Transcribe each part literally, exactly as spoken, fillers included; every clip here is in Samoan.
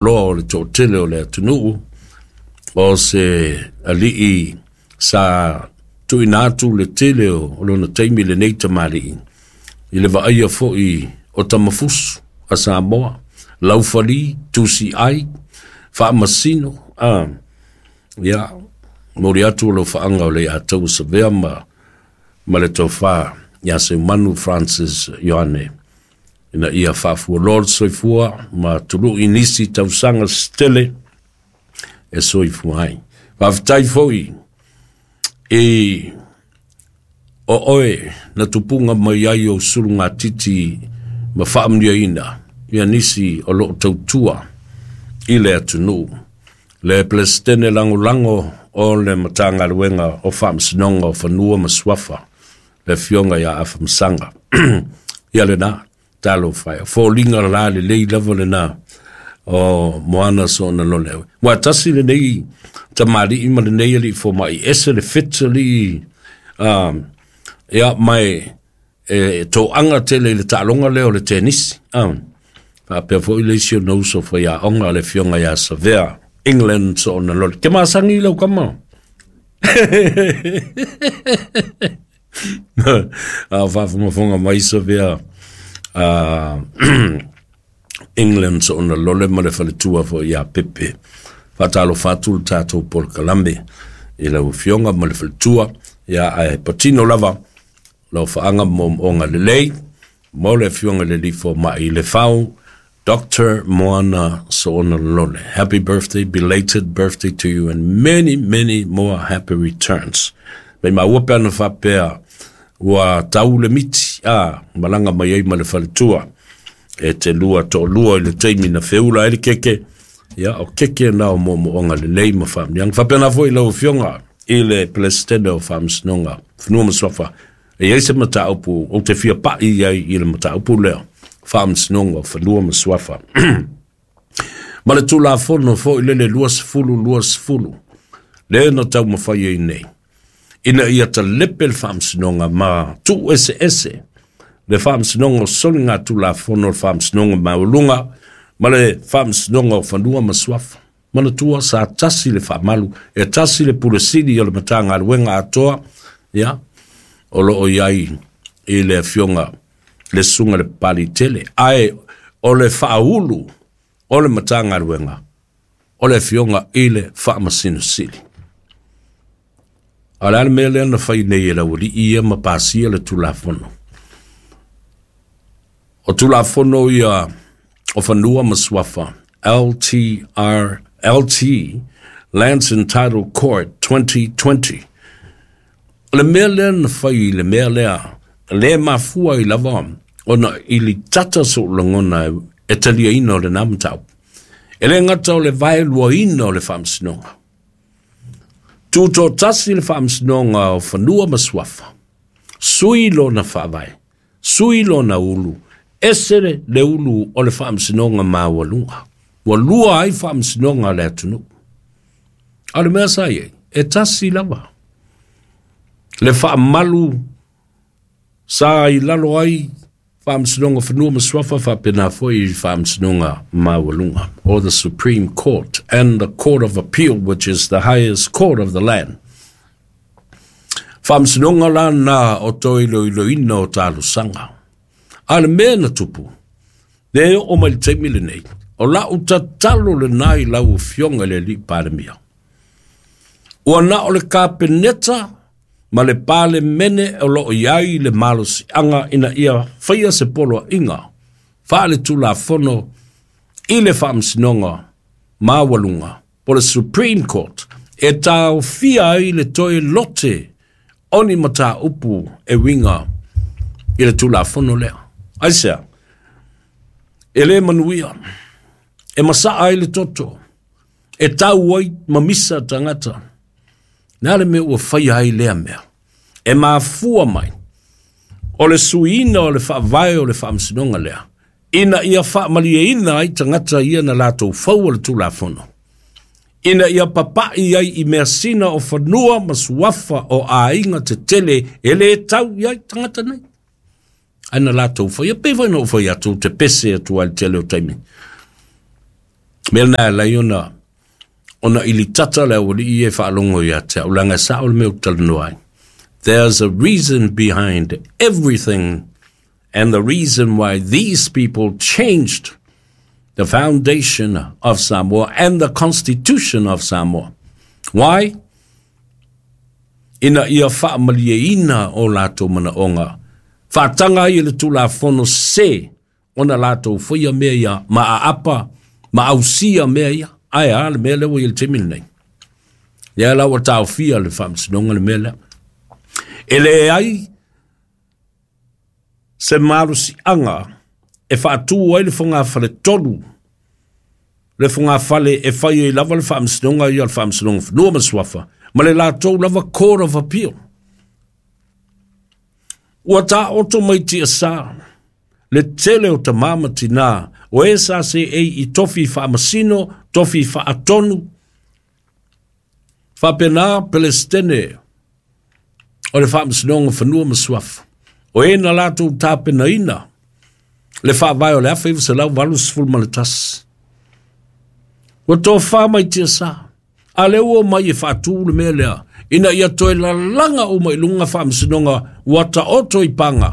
Loa o le toatele o le atunuu o se alii sa tuuina atu le tele o lona taimi lenei tamalii i le vaaia foi o tamafusu a Samoa, laufali, tusiai, faamasino. A ia momoli atu o faaga o le ataua savea ma ma le tofa ia Seumanu Francis Ioane ina ia faafualoa le soifua ma tului nisi tausaga setele e soifua ai. Faafetai foi i o oe na tupuga mai ai ou sulugatiti ma faamanuiaina ia nisi o loo tautua i le atunuu. Le Peresetene Lagolago o le Matagaluega o Faamasinoga o Fanua ma Suafa, le Afioga ia Afamasaga. Ia lena, talofa e. O foliga la lelei lava lena o Moana Soona Lole. Ua tasi lenei tamalii ma lenei alii fomai, ese le fetali um, ia mai e toaga tele i le taaloga lea o le tenisi. Um, faapea foi le isi o na uso faiaoga le Afioga ia Savea England Soona Lole. Ke masagi lau kama. A faafogafoga mai Savea uh, England Soona Lole ma le faletua foi ia Pepe. Faatalofa atu le tatou polokalame i lau afioga ma le faletua, ia ae patino lava lau faaga moomooga lelei mo le afioga i le alii fomai le Fau, Doctor Moana Soona Lole. Happy birthday, belated birthday to you and many, many more happy returns. Mai maua pe ana faapea ua tau le miti a malaga mai ai ma le faletua e te lua toalua i le taimi na feula ai le keke. Ia o keke na o moomooga lelei ma faamanuiaga. Faapena foi lau afioga i le Peresetene o Faamasinoga Fanua ma Suafa. E i ai se mataupu ou te fia pai ai i le mataupu lea, Faamasinoga o Fanua ma Suafa ma le Tulafono foi lele luasefulu luasefulu le na taumafai ai nei ina ia talepe le faamasinoga ma tuu eseese le Faamasinoga o Soligatulafono, le Faamasinoga Maualuga ma le Faamasinoga o Fanua ma Suafa. Manatua sa tasi le faamalu, e tasi le pule sili o le Matagaluega atoa, ia o loo i ai i le afioga le susuga le Papaliitele, ae o le faaulu o le Matagaluega o le afioga i le Faamasino Sili. A o le a le mea lea na fai nei e le aualii ia ma pasia le Tulafono? O Tulafono ia o Fanua ma Suafa, L T R, L T, Lands and Title Court twenty twenty. O le mea lea na fai i le mea lea, le mafua ai lava ona i litata sou lagona e taliaina o lena mataupu. E le gata o le vaeluaina o le faamasinoga. Tutotasi le Faamasinoga o Fanua ma Suafa. Sui lona faavae, sui lona ulu, ese le, le ulu o le Faamasinoga Maualuga. Ua lua ai faamasinoga a le atunuu. A o le mea sa i ai, e tasi lava le faamalu sa i lalo ai Faamasinoga Fanua ma Suafa faapena foi i Faamasinoga Maualuga, or the Supreme Court and the Court of Appeal, which is the highest court of the land. Faamasinoga la na o toe iloiloina o talosaga. A le mea na tupu, le oo mai le taimi lenei, o lau tatalo lena i lau afioga i le alii Palemia. Ua na o le Kapeneta ma le Palemene o loo i ai le malosiaga ina ia faia se poloaiga faale-tulafono i le Faamasinoga Maualuga po le Supreme Court e taofia ai le toe lote o ni mataupu e uiga i le Tulafono lea. Aisea? E lē manuia, e masaa ai le toto, e tau ai mamisa tagata. Le a le mea ua faia ai lea mea? E mafua mai o le suiina o le faavae o le faamasinoga lea ina ia faamalieina ai tagata ia na latou fau o le Tulafono ina ia papai ai i measina o fanua ma suafa o aiga tetele e lē tau i ai tagata nei ae na latou faia. Pei foi na ou fai atu te pese atu ai le tele o taimi. Mea na lai ona ona ilitata le aualii e faalogo ia te au laga e sao le mea ou talanoa ai. There's a reason behind everything, and the reason why these people changed the foundation of Samoa and the constitution of Samoa. Why? Ina ia faamalieina o latou manaoga. Faataga ai e le Tulafono se ona latou faia mea ia ma aapa ma ausia mea ia. Ae a le mea lea ua i le taimi lenei. Ia la ua taofia le faamasinoga le mea lea. E leai se malosiaga e faatū ai le fogafale tolu, le fogafale e fai ai lava le faamasinoga ia o le Faamasinoga Fanua ma Suafa, ma le latou lava Court of Appeal. Ua taoto mai tiasā le tele o tamā ma tinā o e sa seei i tofi faamasino, tofi faatonu, faapena Pelestene o le Faamasinoga Fanua ma Suafa. O e na latou tapenaina le faavae o le afe iva selau valu sefulu ma le tasi. Ua tofā mai tiasā, a lea ua omai e faatū le mea lea, ina ia toe lalaga uma i luga faamasinoga ua taoto i paga,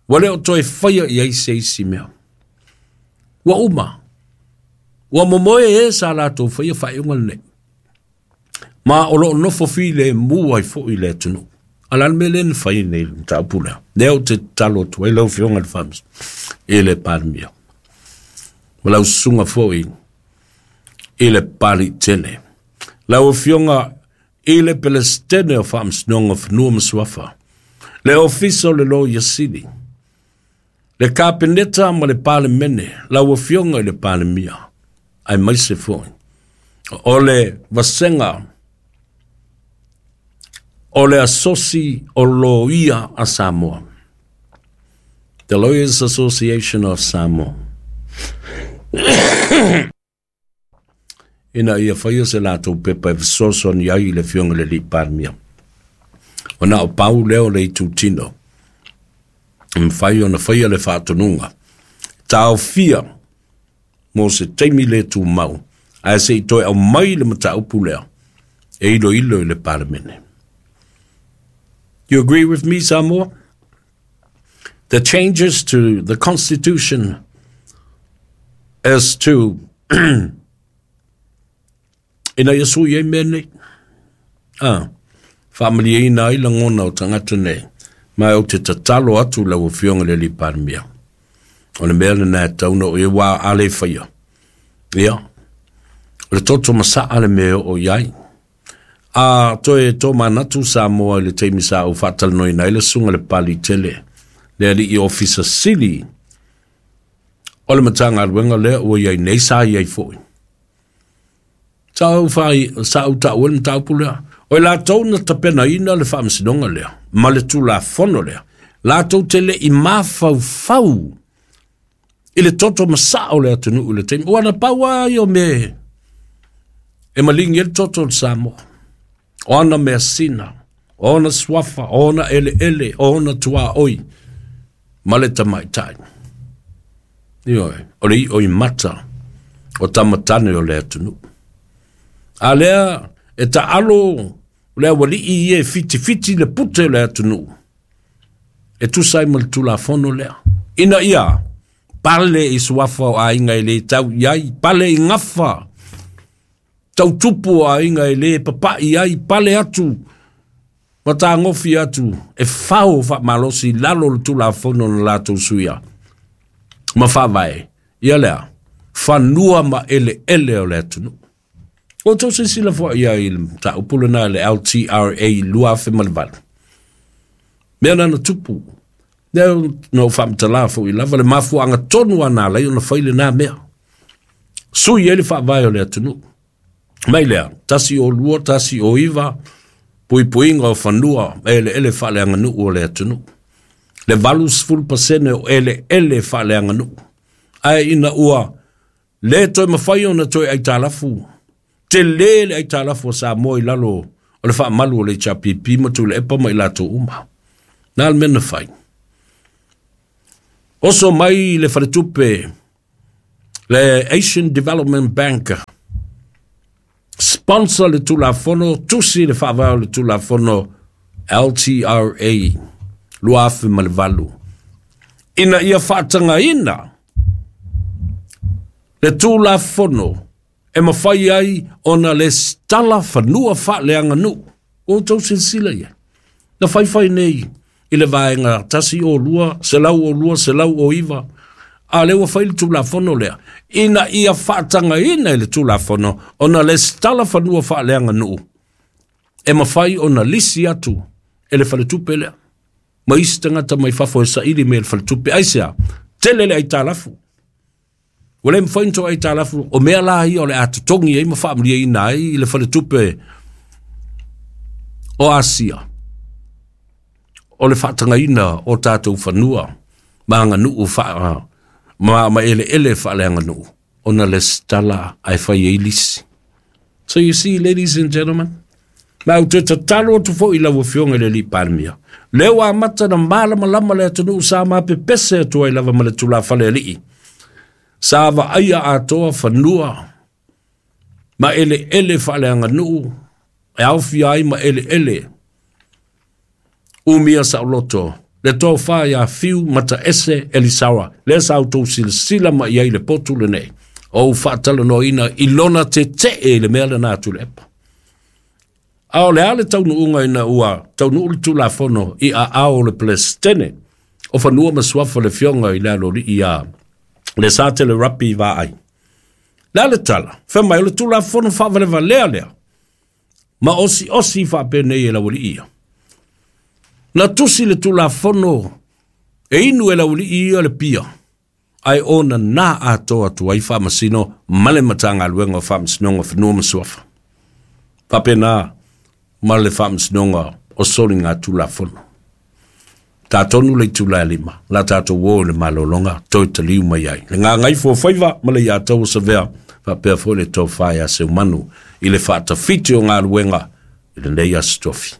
ua le o toe faia i ai se isi mea. Ua uma, ua momoe e sa latou faia faaiuga lenei. Ma o loo nofo filemu ai foʻi le atunuu. A la le mea lea na fai nei le mataupu lea. Lea ou te tatalo atu ai lau Afioga i le Faamasino i le Palemia. Ma lau susuga foʻi i le Paliʻitele. Lau Afioga i le Pelestene o Faamasinoga o Fanua ma Suafa. Le Ofisa o le Loia Sili. Le Kapeneta ma le Palemene, lau Afioga i le Palemia, aemaise foʻi. O le vasega o le Asosi o Loia a Samoa. The Lawyers Association of Samoa. Ina ia faia se latou pepa e fesoasoani ai i le Afioga i le Alii Palemia. Ona o pau lea o le itutino. E mafai ona faia le faatonuga. Taofia mo se taimi le tumau, ae se i toe aumai le mataupu lea e iloilo i le Palemene. You agree with me, Samoa? The changes to the Constitution as to ina ia sui ai mea nei. Ah, faamalieina ai lagona o tagata nei. Ma ou te tatalo atu lau Afioga i le Alii Palemia. O le mea lena e tatau ona oo i ai, ua a le faia. Ia, o le toto masaa le mea e oo i ai. A toe tomanatu Samoa i le taimi sa ou faatalanoaina ai le susuga i le Paliʻitele, le alii ofisa sili o le Matagaluega lea ua i ai nei sa i ai foʻi. Sa ou fai, sa ou taua le mataupu lea. O i latou na tapenaina le faamasinoga lea ma le Tulafono lea, latou te leʻi mafaufau i le toto masaa o le atunuu i le taimi. Ua na pau lava ia o mea e maligi ai le toto o le Samoa. O ana measina, o ona suafa, o ona eleele, o ona tuaoi ma le tamaitai. Ioe, o le i'o i mata o tamatane o le atunuu. A lea e taalo le aualii ia e fitifiti le pute o le atunuu e tusa ai ma le Tulafono lea. Ina ia pale i suafa o aiga e le tau i ai, pale i gafa tautupu o aiga e le papaʻi ai, pale atu ma tagofi atu e fao faamalosi i lalo o le Tulafono na latou suia ma faavae ia lea fanua ma eleele o le atunuu. Ua outou silasila foʻi ai i le mataupu lena i le L T R A lua afe ma le valu. Mea na na tupu. Lea na ou faamatala foʻi lava le mafuaaga tonu a na alai ona fai lenā mea. Sui ai le faavae o le atunuu. Mai lea, tasi o lua, tasi o iva, puipuiga o fanua eleele faaleaganuu o le atunuu. Le valu sefulu pasene o eleele faaleaganuu. Ae ina ua le toe mafai ona toe aitalafu, tele le aitalafu o Samoa i lalo o le faamalu o le H R P P ma Tuilaepa ma i latou uma. Na le mea na fai. Oso mai le faletupe Le Asian Development Bank sponsor le Tulafono, tusi le faavae o le Tulafono L T R A lua afe ma le valu, ina ia faatagaina le Tulafono e mafai ai ona lesitala fanua faaleaganuu. Ua outou silasila ia na faifai nei i le vaega tasi o lua, selau o lua, selau o iva, a lea ua fai le Tulafono lea, ina ia faatagaina i le Tulafono ona lesitala fanua faaleaganuu e mafai ona lisi atu e le faletupe lea ma isi tagata mai fafo e saili me le faletupe. Aisea? Tele le aitalafu. Ua le mafai ona toe aitalafu, o mea la ia o le a totogi ai ma faamaliaina ai i le faletupe o Asia, o le faatagaina o tatou fanua ma aganuu faa ma, ma eleele faaleaganuu ona lesitala ae fai ai lisi. So you see, ladies and gentlemen, ma ou te tatalo atu foi i lau afioga i le alii Palemia, lea ua amata na malamalama le atunuu sa mapepese atu ai lava ma le tulafale alii, sa vaaia atoa fanua ma eleele faaleaganuu e aofia ai ma eleele umia saoloto le tofa ia Fiu Mataese Elisara, lea sa outou silasila ma i ai le potu lenei o ou faatalanoaina i lona tetee i le mea lena atu le epa. A o le a le taunuuga ina ua taunuu le Tulafono i aao o le Pelesitene o Fanua ma Suafa le afioga i le aloalii ia le Satele Rapi Vaai. Le a le tala, fai mai o le Tulafono faavalevalea lea ma osiosi faapenei e laualii ia. Na tusi le Tulafono e inu e laualii ia le pia, ae ona na atoa atu ai faamasino ma le Matagaluega o Faamasinoga o Fanua ma Suafa. Faapena ma le faamasinoga o soliga Tulafono. Tatonu le itula e lima, la tatou o i le malologa toe taliu mai ai. Le gagaifo o faiva ma le iatau o savea, faapea foi le tofa ia Seumanu i le faatafiti o galuega i lenei aso tofi.